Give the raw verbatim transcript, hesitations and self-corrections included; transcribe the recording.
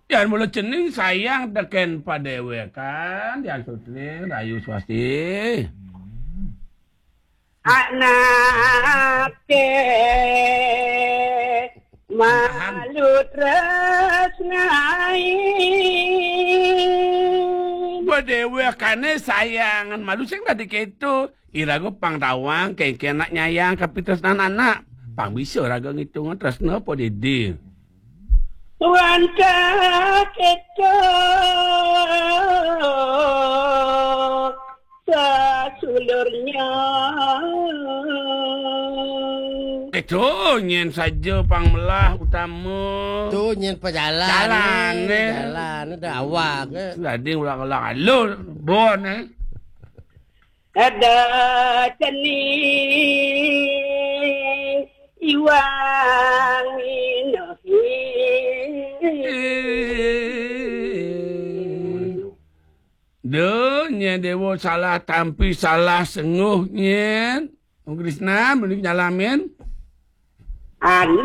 Yan mula cening sayang tekén padéwékan, Yan Sutri, rahayu swasti. Anaké malu tresnain. Padéwékané sayangan malu sing dadi kéto. Iraga pang tawang kéngkén anak nyayang kapitresnan anak. Pang bisa raga ngitunga tresna apa didi. Wantah kéto sasulurnya. Itu nyén saja pang melah utama. Tu nyén pajalan. Jalan, eh. Jalan, ada awak, eh. Dadi ulang-ulang alur, bon, eh. Ada cening iwang inohi. Duh, nyén déwa salah tampi, salah sengguh nyén. Om Krisna, mending nyalamin. Anda